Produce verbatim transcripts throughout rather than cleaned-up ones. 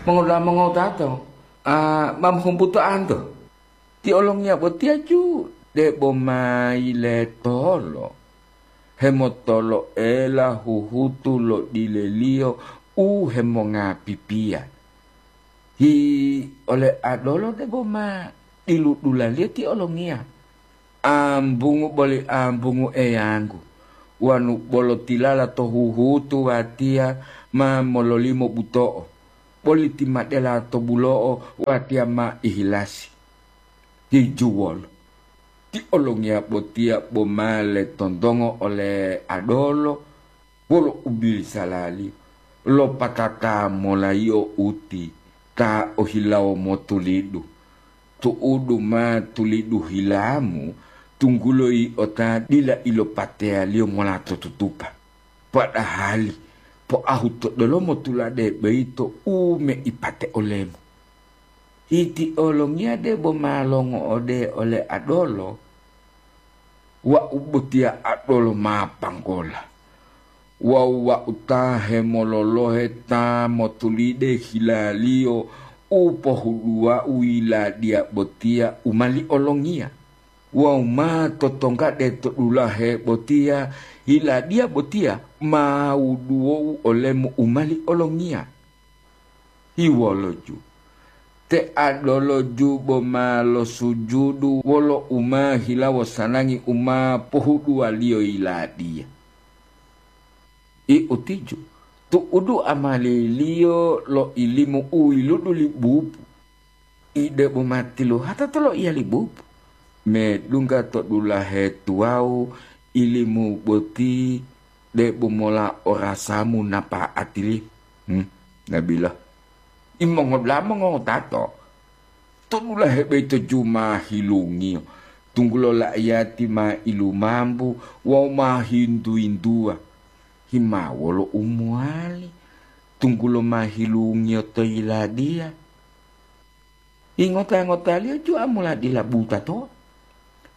Mongoda'a mongowutato, a, ma mohumbutoanto. Ti olongiya botiya ju debo ma yiletolo, hemotolo'ela huhutu lo dileliyo u hemongapipiya. Hi ole adolo debo ma diludulaliyo ti olongiya. Ambungu boli ambungu, Eyanggu, wanu bolo tilala to huhutu watiya ma mololimo buto'o, boli timadela to bulo'o watiya ma ihilasi. Hijuwolo, ti olongiya botiya bo ma letontongo ole adolo wolo ubisalaliyo, lopatata mola yio uti ta ohilawo motulidu. Tu'udu ma tulidu hilamu, tunggulo yi'o ta dila ilopateyaliyo mola to tutupa. Padahali poahu to delomo tulade boyito u meipate olemu. Iti olongiya debo ma longo'ode ole adolo, wau botiya adolo ma panggola. Wawu wau ta hemololohe ta motulide hilaliyo u pohuduwau yiladiya botiya u mali olongiya. Wawu ma totonggade to dulahe botiya, yiladiya botiya ma wuduwou olemu u mali olongiya. Hiwoloju, te adoloju bo ma losujudu wolo u ma hilawo sanangi u ma pohuduwaliyo yiladiya. I utiju, tu'udu amaliliyo lo ilimu u yiludu li bubu. I debo ma tiluhata to loiya li bubu, medungga to dulahe tuwawu ilimu boti debo mola orasamu napa'atili. Hmm, nabila. Imongodula'a mongotato, to dulahe boyito ju ma hilungiyo, tunggulo la'iyati ma ilumambu wawu ma hintu-hintuwa. Himawolo u mowali, tunggulo ma hilungiyo to yiladiya. Ingota-ngotaliyo ju amula dila buta to.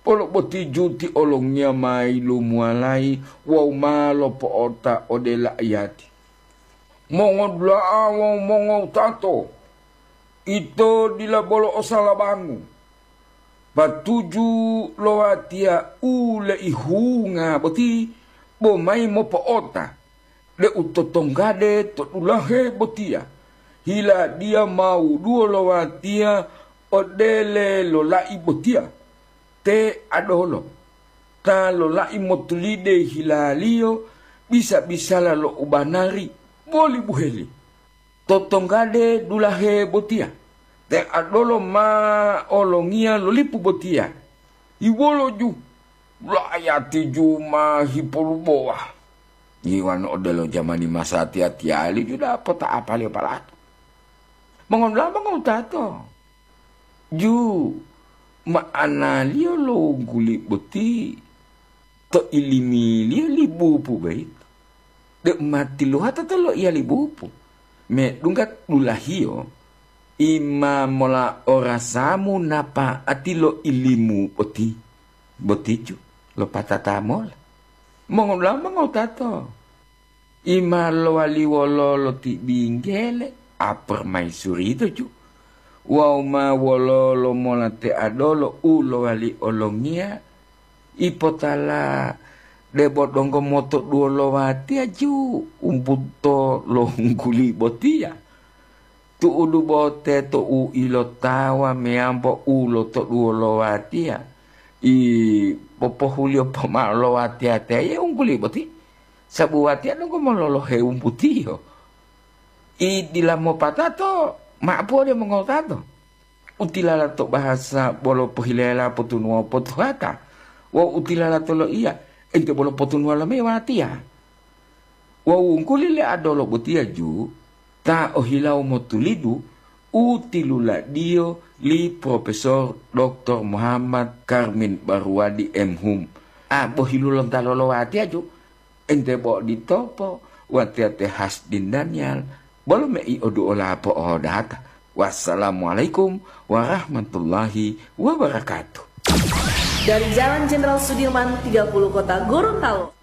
Bolo boti ju ti olongiya ma yilumuwalayi wawu ma lopo'ota ode la'iyati. Mongodula'a wawu mongowutato, ito dila bolo o salabangu. Patuju lo watiya u leihunga boti bo mayi mopo'ota, deu totonggade to dulahe botiya, hiladiya ma wuduwo lo watiya odele lola'i botiya. Te adolo, ta lola'i motulide hilaliyo bisa-bisala lo ubanari boli buheli. Totonggade dulahe botiya, te adolo ma olongiya lo lipu botiya. Iwoloju, la'ayati ju ma hipolubowa. Yiwani odelo jamani masatiya-tiyali ju dapota apaliyo palatu. Mongoda'a mongowutato, ju ma'analiyo lo wungguli boti to ilimiliyo li bubu boyito, deu ma tiluhata to loiya li bubu, medungga dulahiyo, i ma mola orasamu napa'ati lo ilimu boti, botiju lopatata mola. Mongoda'a mongowutato, i ma lowali wololo ti binggele, apermaisuri to ju, wawu ma wololo mola te adolo u lowali olongiya, ipotala debo donggo motoduwo lo watiya ju umbuto lo hungguli botiya. Tu'udu bo teto u ilotawa meyambo u lotoduwo lo watiya, i popohuliyo pomao lo watiya teya ye ungguli boti, sabu watiya donggo mololohe wumbutiyo. I dila mopatato, ma'apuwo de mongotato. Utilala to bahasa bolo pohilela potunuwa potuhata, wawu utilala to loiya, ente bolo potunuwa lomeyi watiya. Wawu wungguli le adolo botiya ju ta ohilawo motulidu u tiluladiyo li Profesor Doktor Muhammad Karmin Baruwadi, M Hum, a bohilu lonta lolowatiya ju, ente bo oditopo watiya te Hasdin Daniel, bolo mei oduola po'odata. Wassalamualaikum warahmatullahi wabarakatuh. Dari Jalan Jenderal Sudirman tiga puluh Kota Gorontalo.